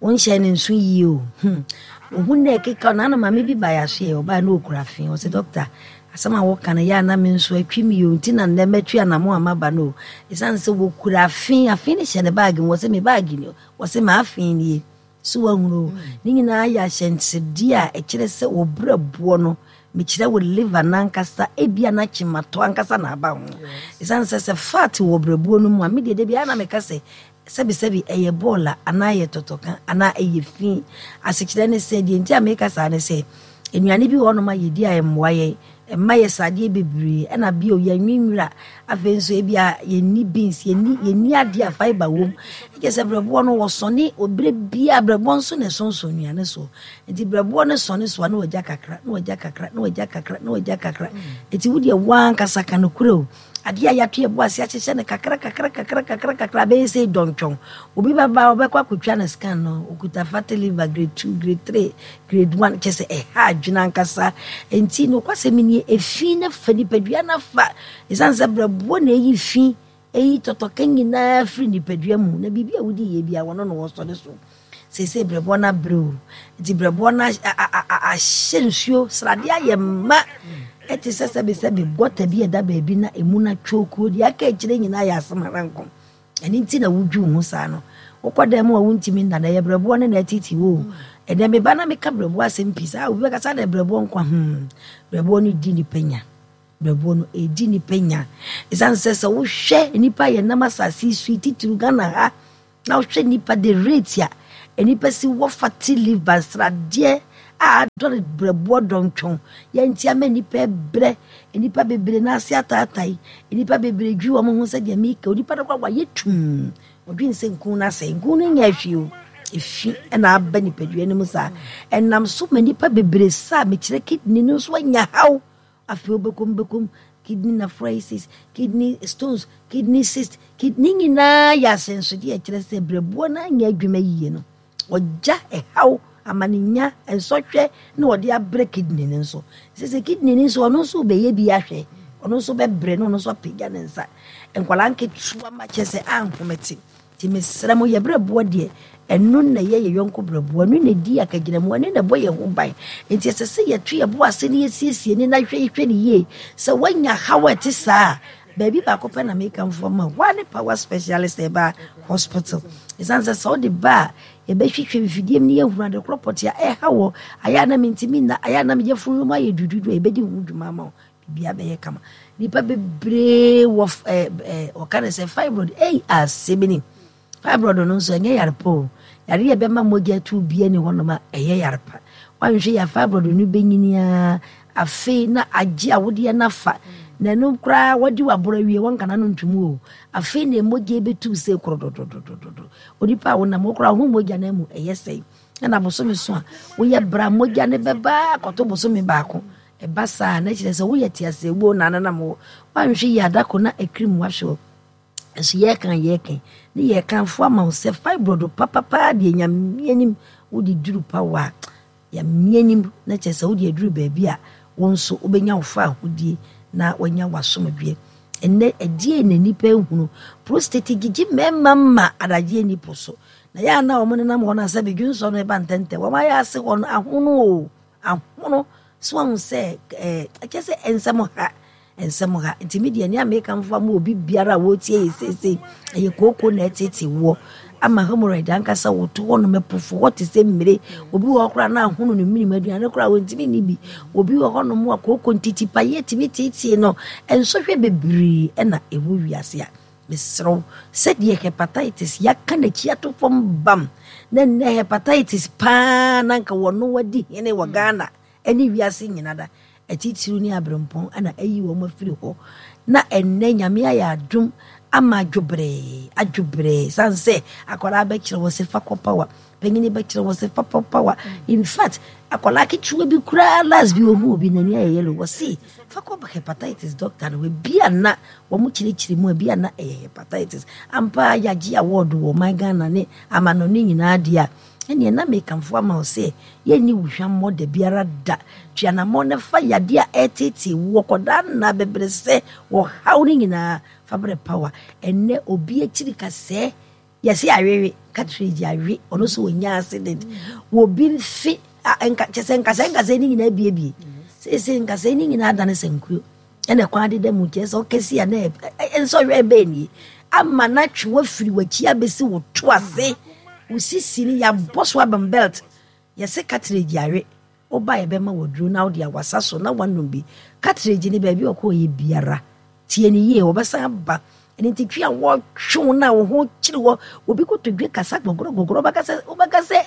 Wonhyɛɛ no nso yie o. Hmm. Wo ho na ɛkeka wo. Naano maame bi baeɛ asoɛ, ɔbaeɛ na ɔkura fe. Ɔse dɔkta, asɛm a woka no yɛ a na me nso atwi me o, nti na nnɛ matu anamo a maba no o. Ɛsiane sɛ wɔkura afe, afe no hyɛ ne baage mu, ɔse me baage ni, ɔse m'afe nie. So woahunu o? Ne nyinaa yɛ ahyɛnsodeɛ a ɛkyerɛ sɛ wo berɛboɔ no, mekyerɛ wo liver no ankasa, ebia na kyematɔ ankasa na aba ho. Ɛsiane sɛ sɛ fat wɔ berɛboɔ no mu a, me deɛ da biara na meka sɛ sɛbesɛbe ɛyɛ bɔɔla anaa ɛyɛ tɔtɔka anaa ɛyɛ fi. Asekyerɛ ne sɛ, deɛ nti a meka saa ne sɛ, nnuane bi wɔ hɔnom a yɛdi a ɛmmoa yɛn, ɛma yɛ sradeɛ bebree, ɛna bio yɛnwe nwura, afei nso ebia yɛnni beans, yɛnni yɛnni adeɛ a fibre wom. Ɛkyɛ sɛ brɛboɔ no wɔsɔne berɛ biara, brɛboɔ nso na ɛsonsɔn nnuane soɔ. Nti brɛboɔ no sɔne so a na wagya kakra, na wagya kakra, na wagya kakra, na wagya kakra. Nti wo deɛ woankasa ka nokorɛ o. Adeɛ a yɛato yɛn bo ase ahyehyɛ no kakra kakra kakra kakra kakra bɛyɛ sɛ dɔntwɔn. Obi bɛba a ɔbɛkɔ akɔtwa no scan no, ɔkuta fatty liver grade 2, grade 3, grade 1, kyɛ sɛ ɛha adwene ankasa. Enti nokwasɛm nie, efi no fa nipadua no afa. Ɛsiane sɛ berɛboɔ na ɛyi fi, ɛyi tɔtɔka nyinaa firi nipadua mu, na biribi a wodi yɛ biara wɔno na wɔsɔre so. Seesei berɛboɔ no abrɛ o, nti berɛboɔ no ahyɛ nsuo, sradeɛ ayɛ ma. Ɛte sɛ sɛbesɛbe gɔta bi a ɛda baabi na emu no atwokuo, deɛ aka akyire nyinaa yɛ asɛm ara nko. Ɛno nti na wodwi wo ho saa no. Wokɔ dan mu a wontumi nna na ɛyɛ berɛboɔ no na ɛtete wo o. Ɛnɛ meba na meka berɛboɔ asɛm pii saa, obi bɛka sɛ adɛn berɛboɔ nkwa hmm. Berɛboɔ no di nipa nya. Berɛboɔ no ɛdi nipa nya. Ɛsiane sɛ sɛ wohwɛ nnipa a yɛnam asase yi so yi, titiriw Ghana ha, Na wohwɛ nnipa the rate a nnipa si wɔ fatty liver sradeɛ a adɔre brɛboɔ dɔntwɔn yɛnti ama nnipa brɛ nnipa bebree n'ase ataatae nnipa bebree dwi wɔn ho sɛdeɛ meka onipa no koraa wayɛ tum ɔdwen sɛ nkun no asɛe nkun no nyɛ ahwie o efi na aba nipadua no mu saa ɛnam so ma nnipa bebree saa mekyerɛ kidney no nso anya haw Afei wobɛkɔm bɛkɔm kidney nephritis, kidney stones, kidney cyst, kidney nyinaa yɛ ahyɛnsodeɛ a ɛkyerɛ sɛ berɛboɔ no anyɛ adwuma yie no, ɔgya ɛhaw Amanenya, nsɔhwɛ na ɔde abrɛ kidney no nso. Sɛ sɛ kidney no nso ɔno nso bɛyɛ bi ahwɛ, ɔno nso bɛbrɛ na ɔno nso apagya ne nsa. Nkwadaa nketewa ma kyɛ sɛ anhomete. Nti mesrɛ mo, yɛ berɛboɔ deɛ, ɛno na ɛyɛ yɛ yɔnko berɛboɔ, ɛno na ɛdi akagyinamu, ɛno na ɛbɔ yɛn ho ban. Nti ɛsɛ sɛ yɛto yɛn bo ase na yɛsiesie ne na hwɛ hwɛ ne yie. Sɛ woanya haw a ɛte saa a, baabi baako pɛ na mekamfo ama wo, hɔ ara ne Power Specialist Herbal Hospital. Ɛsiane sɛ sɛ wode ba a, yɛbɛhwehwɛ mfidie mu na yɛahunu ade korɔ pɔtee a ɛha wɔ, ayɛ a na mentumi nna, ayɛ a na me yafunu mu ayɛ dududu a, yɛbɛdi ho dwuma ama wo. Biribiara bɛyɛ kama. Nnipa bebree wɔ ɛɛ ɛɛ wɔka no sɛ fibroid. Ei asɛm ni. Fibroid no nso ɛnyɛ yare pa o. Yare a ɛbɛma mogya atu bia ni hɔnom a ɛyɛ yare pa. Woanhwɛ yɛ fibroid no bɛnyini ara afei na agye awodeɛ no afa. Na ɛno koraa wɔde waborɔ awie wɔnka n'ano ntom o. Afei na mogya bɛtu sɛ korodododododo. Onipa a wonam wo koraa ho mogya no mu ɛyɛ sɛn. Ɛna bosome so a woyɛ bra mogya no bɛba akɔto bosome baako. Ɛba saa a, na kyerɛ sɛ woyɛ teaseawuo na anenam wo. Woanhwɛ yie a, da ko na akirim wahwe wo. Nso yɛreka a yɛreka yi, ne yɛrekamfo ama wo sɛ fibroid papapaa deɛ Nyame anim wode duru pa wo a, Nyame anim na kyerɛ sɛ wode aduru baabi a wo nso wobɛnya wo fawohodie na woanya w'asomdwoeɛ. Ɛnnɛ, ɛdeɛn na nnipa ahunu? Prostate gyegye mmarima ma adagyeɛ nni po so. Na yɛ a na wɔnenam hɔ no a sɛ bedwonsɔ no ɛba ntɛntɛm, wɔn ayɛ ase hɔ no ahono o. Ahono so ahu sɛ ɛɛ ɛkyɛ sɛ nsɛm ha nsɛm ha nti mi deɛ nea meka nfa mu obi biara a wɔretie yɛ seesei ɛyɛ kooko na ɛtete woɔ ama hemorrhoid ankasa wɔto hɔ nom ɛpofo hɔ te sɛ mmire obi wɔ hɔ koraa na ahono ne minim aduane koraa wɔntumi nni bi obi wɔ hɔ nom a kooko ntiti pa yɛ tumi tietie no nsɔhwɛ bebree ɛna ɛwɔ wiase a Mesrɛ wo, sɛdeɛ hepatitis yɛaka n'akyi ato fam bam, na nnɛ hepatitis paa na anka wɔno wadi hene wɔ Ghana ne wiase nyina da, atitiriw ne aberempɔn na ayi wɔn afiri hɔ, na ɛnnɛ Nyame ayɛ adom ama adwobrɛɛ, adwobrɛɛ, sane sɛ akwadaa bɛkyerɛ wɔ se fa kɔ power, panyini bɛkyerɛ wɔ se fa kɔ power, in fact akwadaa ketewa bi koraa last bi ohun obi n'ani ayɛ yellow, wɔ se fa kɔ hepatitis doctor no, ebi a na Wɔn kyerɛkyerɛ mu a bi a na ɛyɛ hepatitis. Ampa ara yɛagye award wɔ ɔman Ghana ne amanɔne nyinaa deɛ a, ɛneɛ na mekamfo ama wo sɛ yɛnni wo hwammɔ da biara da. Tu anammɔn na fa yadeɛ a ɛreteetee woɔ kɔdaa nna abɛbrɛsɛ ɔhaw no nyinaa fa brɛ Power. Ɛnnɛ obi akyiri kasɛɛ Yɛse awewe, cartridge awe, ɔno nso ɔnya accident. Obi mfe, nka, kyɛ sɛ nkasɛɛ nkasɛɛ ne nyinaa abiebie. Seesei nkasɛɛ ne nyinaa adane sankuo. Ɛna kwan deda mu kyerɛ sɛ ɔkɛse a na nsɔhwɛ bɛn nie. Ama no atwe wafiri w'akyi abɛsi wo to ase. Wo sisi no yɛabɔ so abam belt. Yɛse cartridge awe. Woba a yɛbɛma wo aduro na wode awasa so na woanom bi. Cartridge no baabi a ɔkɔɔyɛ biara, tie no yie, ɔbɛsan aba. Ɛno nti twe a wɔtwe wo no a wo ho kyere wɔ, obi kotodwe kasa gɔgɔrɔgɔgɔrɔ, wobɛka sɛ wobɛka sɛ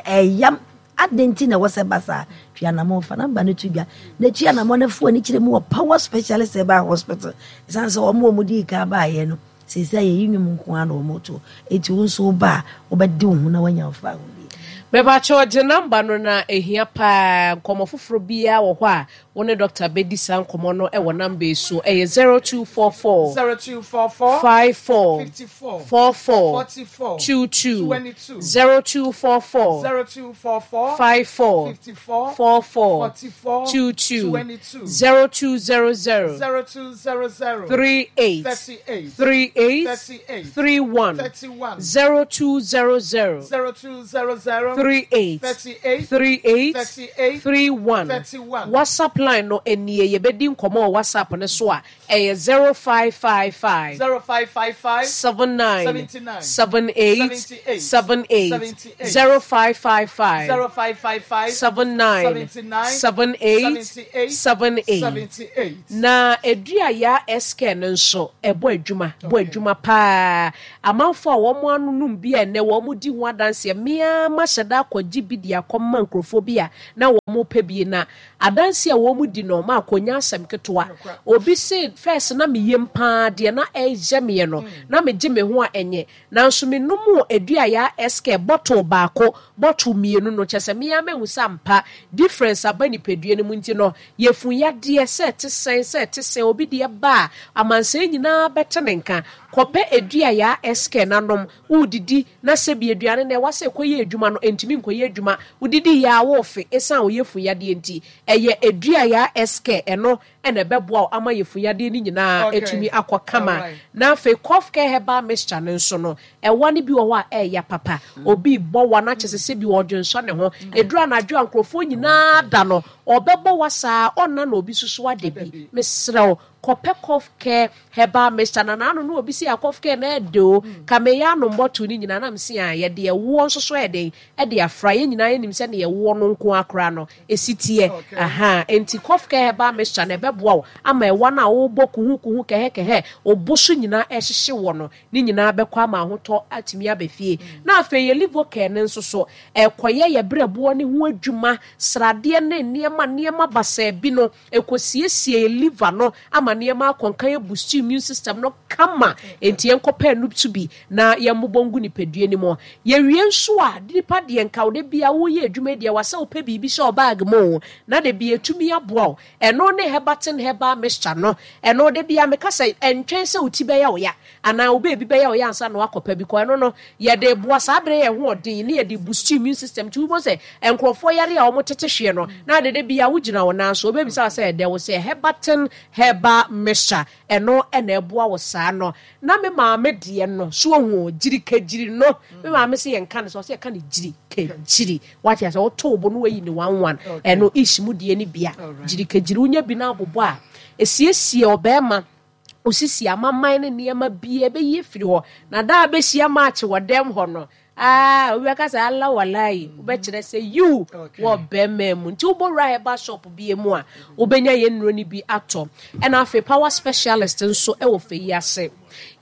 ɛyam. Adɛn nti na ɛwɔ sɛ ɛba saa? Twe anammɔn, fa namba no to dwa na twe anammɔn na fa w'ani kyerɛ mu wɔ Power Specialist Herbal Hospital. Ɛsiane sɛ wɔn a wɔdii kan baeɛ no, Seesei yɛyi nnwom nko ara na wɔto. Enti wo nso woba a, wobɛde wo ho na woanya wo fawohodie. Mepakyɛw gye number no na ehia paa. Nkɔmmɔ foforɔ biara wɔ hɔ a wo ne doctor bɛdi saa nkɔmmɔ no wɔ number yi so. Ɛyɛ 0244 0244 54 54 44 44 22 22 0244 0244 54 54 44 44 22 22 0200 0200 38 38 38 38 31 31 0200 0200 38 38 38 38 31 31. WhatsApp line no nie yɛbɛdi nkɔmmɔ wɔ WhatsApp no so a ɛyɛ 0555 0555 79 79 78 78 78 78 0555 0555 79 79 78 78 78 78. Na edua yaa SK no nso ɛbɔ adwuma, bɔ adwuma paa. Amanfoɔ a wɔn ano nom bi a ɛnnɛ wɔn di ho adanseɛ. Me ara mahyɛ da akɔgye bi de akɔma nkurɔfoɔ bi a na wɔn pɛ bi. Na adanseɛ a wɔn di no, maakɔ nyɛ asɛm ketewa. Obi se, first na me yam paa deɛ na ɛyɛ meɛ no, na megye me ho a ɛnyɛ. Nanso menom Aduayaa SK bottle baako, bottle mmienu no, kyerɛ sɛ me ara mahu sɛ ampa difference aba nipadua no mu nti no, yɛfu yadeɛ sɛ ɛte sɛn, sɛ ɛte sɛn, obi deɛ ba a, amansan nyinaa bɛte ne nka. Kɔpɛ Aduayaa SK na nom. Woredidi na sɛbi aduane no ɛwa sɛ ɛkɔyɛ adwuma no, ɛntumi nkɔyɛ adwuma. Wodidi yɛ a worefe ɛsiane wo yafunu yadeɛ nti. Ɛyɛ Aduayaa SK, ɛno na ɛbɛboa wo ama yafunu yadeɛ no nyinaa atumi akɔ kama. Na afei Cough Care Herbal Mixture no nso no, ɛwa no bi wɔ hɔ a ɛyɛ papa. Obi rebɔ wa na kyerɛ sɛ sɛbi ɔredwensɔ ne ho. Ɛduru anadwo a nkurɔfoɔ nyinaa da no, ɔbɛbɔ wa saa, ɔnna na obi nso so ada bi. Mesrɛ wo, kɔpɛ Cough Care Herbal Mixture. Na n'ano no obi se a Cough Care no ɛɛdɛ o, ka meyɛ anom bottle no nyinaa na mese a yɛde ɛwoɔ nso so ɛyɛ dɛn ɛde afra. Yɛn nyinaa yɛnim sɛdeɛ ɛwoɔ no nko ara koraa no ɛsi teɛ. Ahaa, enti Cough Care Herbal Mixture no ɛbɛboa wo ama ɛwa no a wobɔ kuhukuhu kɛhɛkɛhɛ, wo bo so nyinaa ɛrehyehye woɔ no, ne nyinaa bɛkɔ ama ahotɔ atumi aba fie. Na afei yɛ Livocare no nso so, ɛrekɔyɛ yɛn berɛboɔ no ho adwuma, sradeɛ ne nneɛma nneɛma basaa bi no, ɛkɔsiesie yɛn liver no ama nneɛma akɔ nkan, ɛboost immune system no kama. Enti yɛnkɔpɛ anuptu bi na yɛmmobɔ ngu nipadua no mu. Yɛwie nso a, nipa deɛ nka wo da biara woreyɛ adwuma yi deɛ, ɛwɔ sɛ wopɛ biribi hyɛ wo bag mu o, na da biara ɛtumi aboa wo. Ɛno ne Herbatin Herbal Mixture no. Ɛno, da biara meka sɛ, ɛntwɛn sɛ wo ti bɛyɛ wo ya anaa wo baabi bɛyɛ wo ya ansa na woakɔpɛ bi kɔ. Ɛno no, yɛde boa saa berɛ yɛn ho ɔden ne yɛde boost immune system. Nti wobɛhu sɛ nkurɔfoɔ yare a wɔtete hweɛ no, na ade da biara wogyina wo nan so, wɔbɛbisa wo sɛ ɛdɛ wo sɛ Herbatin Herbal Mixture. Ɛno na ɛboa wo saa no. Na me maame deɛ no, so woahu o, gyirikagyiri no, me maame se yɛnka no sɛ, ɔse yɛka no gyirikagyiri. Wate ase, woto wo bo na wayi ne one one. Ɛno ish mu deɛ no bia. Gyirikagyiri, wonya bi na abobɔ a, ɛsiesie ɔbarima, osisi amaman ne nneɛma bi ɛbɛyi afiri hɔ. Na da a bɛhyia match wɔ dɛm hɔ no, ah, obi bɛka sɛ ala walayi, wobɛkyerɛ sɛ yiw wɔ bɛrima mu. Nti wobɔ wura herbal shop bi mu a, wobɛnya yɛn nnuro no bi atɔ. Ɛna afei power specialist nso wɔ fɛ yi ase.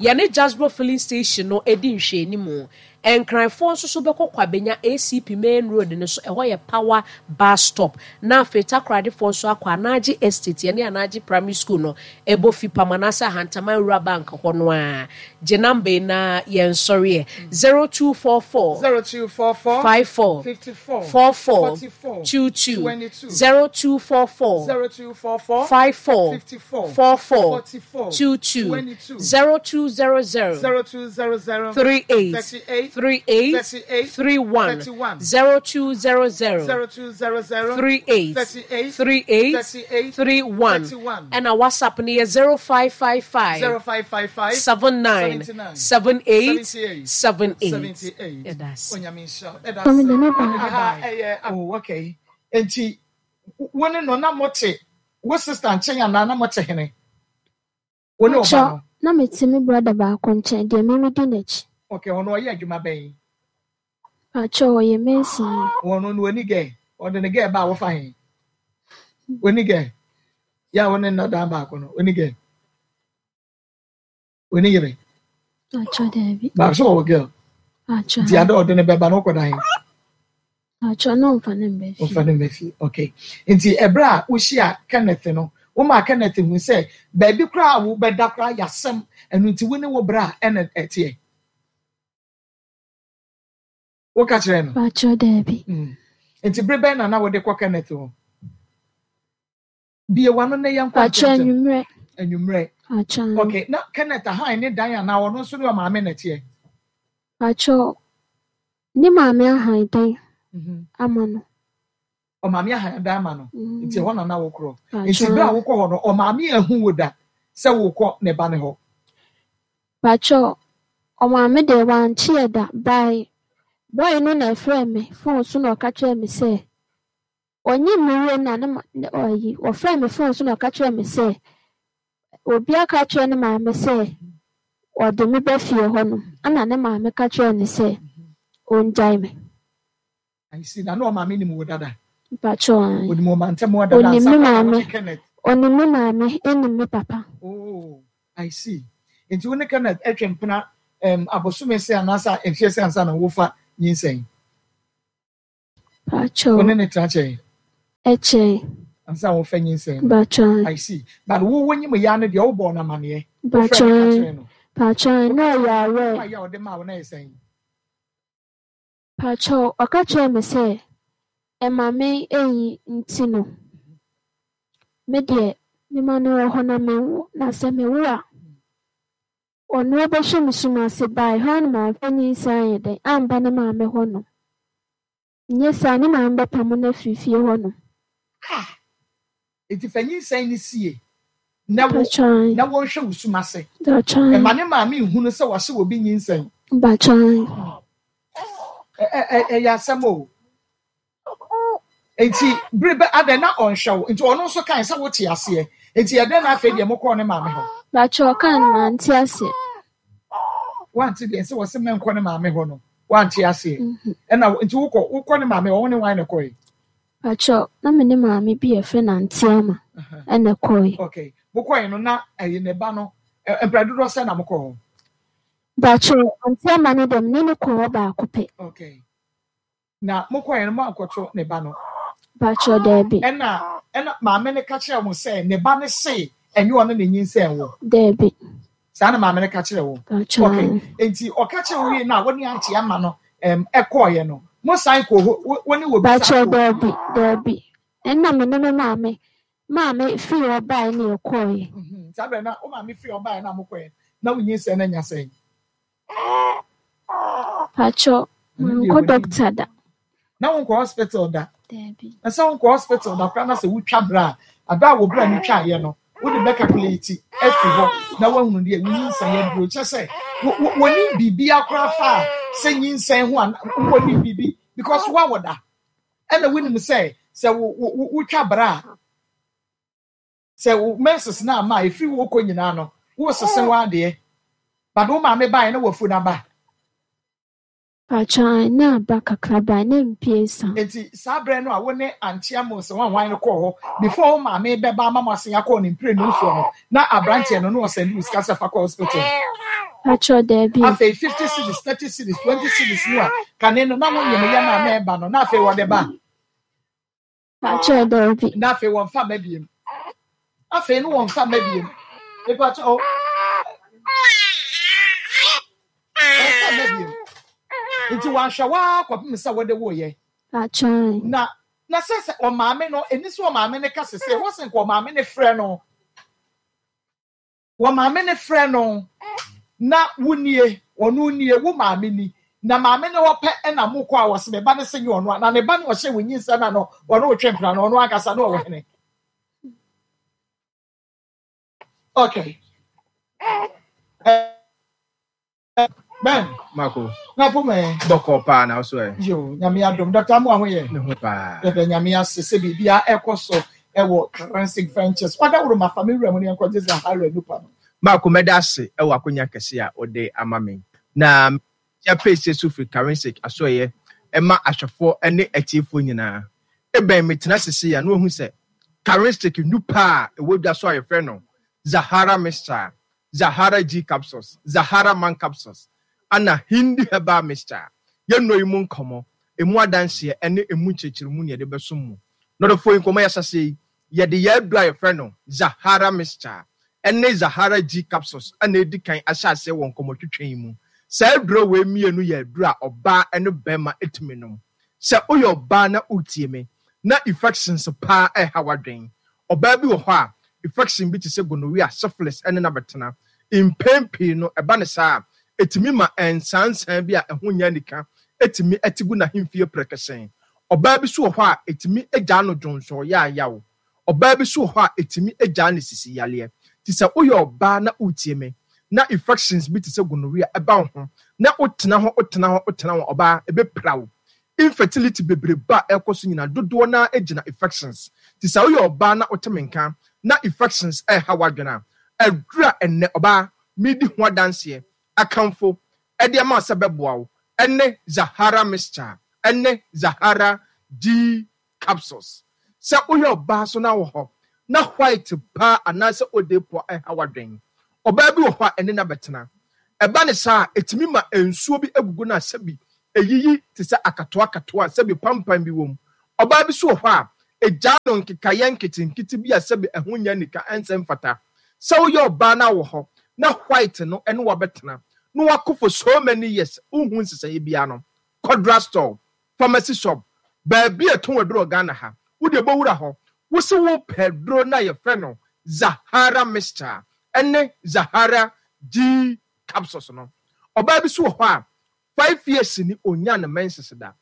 Yɛne Jasbro filling station no di nhwɛanimu. Nkranfoɔ nso so bɛkɔ Kwabenya ACP main road no so, ɛhɔ yɛ Power bus stop. Na afei Takoradefoɔ nso akɔ Anagye Estate, yɛne Anagye Primary School no ɛbɔ fipam anaasɛ Ahantaman Rural Bank hɔ no ara. Gye number yi na yɛnsɔre ɛ, 0244 0244 54 54 44 44 22, 22 0244 0244 54 54 44 44 22, 22 0200 0200 38 38 38 38 31 31 0200 0200 38 38 38 38 31 31 ɛna WhatsApp no yɛ 0555 0555 79 79 78 78 78 78 Yɛda ase. Onyame nhyira wo. Ɛda Mede ase. me baa. Aha ɛyɛ oh okay. Enti wo ne no na mote wo sister nkyɛn anaa na mote hene? Wo ne ɔba Pakyɛ, no? na mete me brɔda baako nkyɛn, deɛ me medi n'akyi. Okay, ɔno ɔyɛ adwuma bɛn? Pakyɛ, ɔyɛ masonni. Ɔno no ɔni gɛ? Ɔde ne gɛ ba a wofa he? Ɔni gɛ? Yɛ a wo ne nna dan baako no, ɔni gɛ? Ɔni yere? Pakyɛ, daabi. Baako sɛ ɔwɔ girl. Pakyɛ, Nti ada ɔde ne bɛba no wokɔda he? Pakyɛ, na ɔmfa ne mba fie. Ɔmfa ne mba fie, okay. Nti ɛberɛ a wohyia Kenneth no, womaa Kenneth hu sɛ baabi koraa a wobɛda koraa yɛ asɛm, ɛno nti wo ne wo bra ɛna ɛteɛ? Woka kyerɛɛ no? Pakyɛ, daabi. Nti bere bɛn na na wode kɔ Kenneth hɔ? Bue w'ano na yɛnkɔ Pakyɛ, ntɛmntɛm. anwummerɛ. Anwummerɛ. Pakyɛ. Okay, na Kenneth ahan ne dan anaa ɔno nso ne ɔmaame na ɛteɛ? Pakyɛ, ne maame ahan dan ama no. Ɔmaame ahan dan ama no. Nti ɛhɔ na na wokorɔ. Pakyɛ. Nti bere a wokɔ hɔ no, ɔmaame ahu wo da sɛ wokɔ ne ba no hɔ? Pakyɛ, ɔmaame deɛ wankyeɛ da, by boy no na ɛfrɛɛ me phone so na ɔka kyerɛɛ me sɛ ɔnyim me wie na ne ma ne ɔyi ɔfrɛɛ me phone so na ɔka kyerɛɛ me sɛ obi aka akyerɛ ne maame sɛ ɔde me ba fie hɔnom ɛna ne maame ka kyerɛɛ no sɛ ɔngyae me. I see, na na ɔmaame nim wo dada? Mpakyɛw ae. Onim wo mantam hɔ dada Onim ansa me koraa na wo maame, ne Kenneth? onim me maame ɛnim me papa. Oh, I see. Nti wo ne Kenneth ɛtwe mpena um, abosome sɛ anaasɛ mfeɛ sɛ ansa na wofa nyinsɛn? Mpakyɛw. Wo ne ne tena kyɛn? Ɛkyɛe. Ansa wofa nyinsɛn no? Mpakyɛw. I see. But wo wonyim ya no deɛ wobɔɔ no amaneɛ? Wofrɛ no ka Mpakyɛw. kyerɛ no? Mpakyɛw, na ɔyɛ aware. Mpaeɛ a ɔde maa wo na ɛyɛ sɛn? Pakyɛw, ɔka kyerɛɛ me sɛ ɛma me eyi nti no, me deɛ mema no wɔ hɔ na menwo, na sɛ mewo a. Ɔno ɔbɛhwɛ me sum ase bae hɔ a na mamfa nyinsɛn anyɛ dɛn amba ne maame hɔnom. Nyɛ saa a ne maame bɛpamo no afiri fie hɔnom. Ah! Enti fa nyinsɛn no sie na wo na wɔnhwɛ wo sum ase. Mma ne maame nhunu sɛ wahyɛ obi nyinsɛn. Ɛyɛ asɛm o. Enti bere bɛ adɛn na ɔnhwɛ wo? Nti ɔno nso kae sɛ wote aseɛ. Enti ɛdɛn na afei deɛ mokɔɔ ne maame hɔ? Bakyɛ ɔkaa no mante aseɛ. Wante deɛ sɛ wɔse mɛnkɔ ne maame hɔ no wante aseɛ. Ɛna nti wokɔ wokɔ ne maame hɔ wo ne wan na ɛkɔe? Pakyɛ na me ne maame bi a yɛfrɛ no Auntie Ama ɛna ɛkɔe. Okay mokɔe no na ɛyi ne ba no mprɛ dodoɔ sɛn na mokɔɔ hɔ? Pakyɛ Auntie Ama no deɛ me ne no kɔɔ hɔ baako pɛ. Okay Na mokɔeɛ no, moankɔto ne ba no? Mpakyɛw, daabi. Ɛnna ɛnna maame no ka kyerɛɛ wɔn sɛ, Ne ba no se ɛnyɛ ɔno na enyinsɛn wo. Daabi. Saa na maame no ka kyerɛɛ wɔn. Mpakyɛw, Okay. aane. Enti ɔka kyerɛɛ wo wiei no a, wo ne Auntie Ama no ɛm ɛkɔeɛ no, mosan kɔɔ hɔ, wo wo ne obi san Mpakyɛw, kɔɔ? daabi, daabi. Ɛnna me ne me maame, maame firi hɔ baeɛ na yɛkɔeɛ. Mhm. Saa berɛ no na wo maame firi hɔ baeɛ na mokɔeɛ no, na wo nyinsɛn no anya sɛn? Pakyɛ mankɔ doctor da. Na wonkɔ hospital da? Daabi. Na sɛ wonkɔ hospital da koraa na sɛ wotwa bra a, aber a wo bra no twaeɛ no, wode bɛ calculate afiri hɔ na woahunu deɛ wo nyinsɛn aduro. Kyerɛ sɛ wɔnim biribiara koraa fa a sɛ nyinsɛn ho a wɔnim biribi because woawo da. Ɛna wonim sɛ sɛ wotwa bra a, Sɛ wo menses no amma a, ɛfiri wo kɔ nyinaa no, woresese w'adeɛ. But wo maame baeɛ na wafu no aba. Pakyɛ ae na aba kakra bae na mpie sa. Nti saa berɛ no a wo ne Auntie Amos wɔn hwan no kɔɔ hɔ before wo maame bɛba ama mo asen akɔ ne mprenu soɔ no na abranteɛ no na ɔsɛnde wo sika sɛ fa kɔ hospital? Pakyɛ daabi o. Afei 50 cedis, 30 cedis, 20 cedis no a kane no na wonyem yɛ no a na ɛba no na afei wɔde ba? Pakyɛw daabi. Na afei wɔnfa mma biem. Afei no wɔnfa mma biem. Mepakyɛw o. Wɔnfa mma biem. Nti wɔanhwɛ wo ara kɔpem sɛ wode woeɛ. Pakyɛw. Na na sɛ sɛ ɔmaame no, ɛni sɛ ɔmaame no ka sese, ɛwɔ sɛ nka ɔmaame no frɛ no. Wɔ maame no frɛ no na wo nie, ɔno nie, wo maame ni, na maame no hɔ pɛ na mo kɔ a wɔse me ba no se nyɛ ɔno a, na ne ba no ɔhyɛ wo nyinsɛn na no ɔne wo twe mpena no ɔno ankasa no ɔwɔ hene. Okay. Ben. Mako. Na po me. Bɔkɔ paa na so ɛ. Yo, nyame adom. Dr. Amoah ho yɛ. Me ho paa. Yɛda nyame ase sɛ biribia ɛkɔ so ɛwɔ Karansic Ventures. Wada woro ma fa me wura mu ne yɛnkɔgye Zahara nupa no. Mako mɛda ase ɛwɔ akonya kɛse a wode ama me. Na mekyia pɛsie so firi Karansic asoɛeɛ ɛma ahwɛfoɔ ne atiefoɔ nyinaa. Ebɛn metena sesei a na wahu sɛ Karansic nupa a ɛwɔ dwa so a yɛfrɛ no Zahara Mixture Zahara G Capsules, Zahara Man Capsules, ɛna Hindi Herbal Mixture. Yɛn nnuro yi mu nkɔmmɔ, ɛmu adanseɛ ne ɛmu nkyerɛkyerɛmu na yɛde bɛsom mo. Nɔdɔfoɔ yi, nkɔmmɔ yi ahyɛaseɛ yi, yɛde yɛn aduro a yɛfrɛ no Zahara Mixture ne Zahara G Capsules na ɛredi kan ahyɛ aseɛ wɔ nkɔmmɔtwetwe yi mu. Saa aduro wei mmienu yɛ aduro a ɔbaa ne barima tumi nom. Sɛ woyɛ ɔbaa na woretie me na infections paa reha w'adwene, Ɔbaa bi wɔ hɔ a, infection bi te sɛ gonorrhea, syphilis ne no abɛtena. Mpɛn pii no, ɛba no saa a, ɛtumi ma nsaansaa bi a ɛho nyɛ anika tumi te gu n'ahemfie prɛkɛsɛn. Ɔbaa bi nso wɔ hɔ a, ɛtumi gyaa no dwonsɔ yaayaw. Ɔbaa bi nso wɔ hɔ a, ɛtumi gyaa no sisi yareɛ. Nti sɛ woyɛ ɔbaa na woretie me, na infections bi te sɛ gonorrhea ba wo ho, na wotena hɔ, wotena hɔ, wotena hɔ a, ɔbaa, ɛbɛpira wo. Infertility bebrebe a ɛkɔ so nyinaa, dodoɔ no ara gyina infections. Nti sɛ woyɛ ɔbaa na wote me nka na infections reha w'adwene a, aduru a ɛnnɛ, ɔbaa, meredi ho adanseɛ, akamfo de ama wo sɛ ɛbɛboa wo ne Zahara Mixture ne Zahara G Capsules. Sɛ woyɛ ɔbaa nso na wɔ hɔ na white paa anaasɛ odepoa reha w'adwene, ɔbaa bi wɔ hɔ a ɛne no abɛtena. Ɛba no saa a, ɛtumi ma nsuo bi gugu no a sɛbi ɛyiyi te sɛ akatoakatoa a sɛbi pampan bi wɔ mu. Ɔbaa bi nso wɔ hɔ a, ɛgyaa no nkekaeɛ nketenkete bi a sɛbi ɛho nyɛ anika, ɛnsɛ mfata. Sɛ woyɛ ɔbaa na wɔ hɔ na white no ne wo abɛtena na woako for so many years wonhu nsesaeɛ biara no, kɔ drugstore, pharmacy shop, baabi a yɛtɔn aduro wɔ Ghana ha, wo deɛ bɔ wura hɔ, wo se wo pɛ aduro no a yɛfrɛ no Zahara mixture ɛne Zahara G. capsules no. Ɔbaa bi so wɔ hɔ a, 5 years ni onnya ne menses da.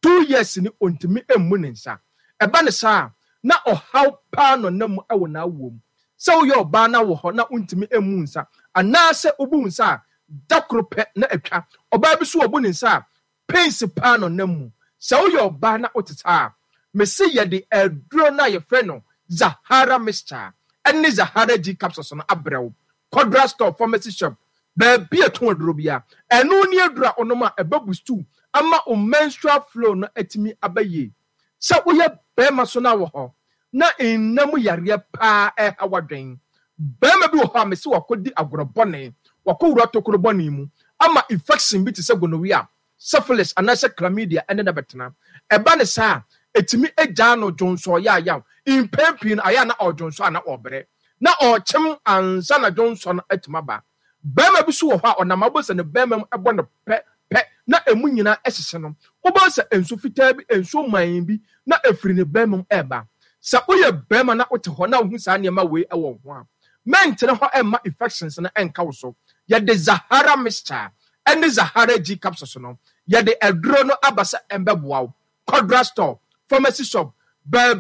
2 years ni ontumi mmu ne nsa. Ɛba ne saa a, na ɔhaw paa na ɔnam mu wɔ n'awoɔ mu. Sɛ woyɛ ɔbaa na wɔ hɔ na wontumi mmu nsa, anaasɛ wobu nsa a, da koro pɛ na atwa. Ɔbaa bi so wɔbu ne nsa a, pains paa na ɔnam mu. Sɛ woyɛ ɔbaa na wote saa a, mese yɛde aduro no a yɛfrɛ no Zahara mixture ne Zahara G capsules no abrɛ wo. Kɔ drug store, pharmacy shop, baabi a ɛtɔn aduro biara. Ɛno ne aduro a wonom a ɛbɛ boost wo ama wo menstrual flow no atumi aba yie. Sɛ woyɛ barima so na wɔ hɔ na nna mu yareɛ paa ɛreha w'adwen. Barima bi wɔ hɔ a mese wakɔdi agorɔ bɔne, wakɔwura tokuro bɔne mu ama infection bi te sɛ gonorrhea, syphilis anaasɛ chlamydia ne no bɛtena. Ɛba no saa a, ɛtumi gyaa no dwonsɔ yaayaw. Mpɛn pii no, ayɛ a na ɔredwonsɔ a na ɔrebrɛ. Na ɔrekyem ansa na dwonsɔ no atumi aba. Barima bi nso wɔ hɔ a, ɔnam a wobɛhu sɛ ne barima mu bɔ no pɛ pɛ na emu nyinaa hyehye no. Wobɛhu sɛ nsu fitaa bi, nsuo mann bi na ɛfiri ne barima mu reba. Sɛ woyɛ barima na wote hɔ na wohu saa nneɛma wei wɔ wo ho a, mɛntena hɔ mma infections no nka wo so. Yɛde Zahara mixture ne Zahara G capsules no, yɛde aduro no aba sɛ ɛmbɛboa wo. Kɔ drugstore, pharmacy shop, baabi.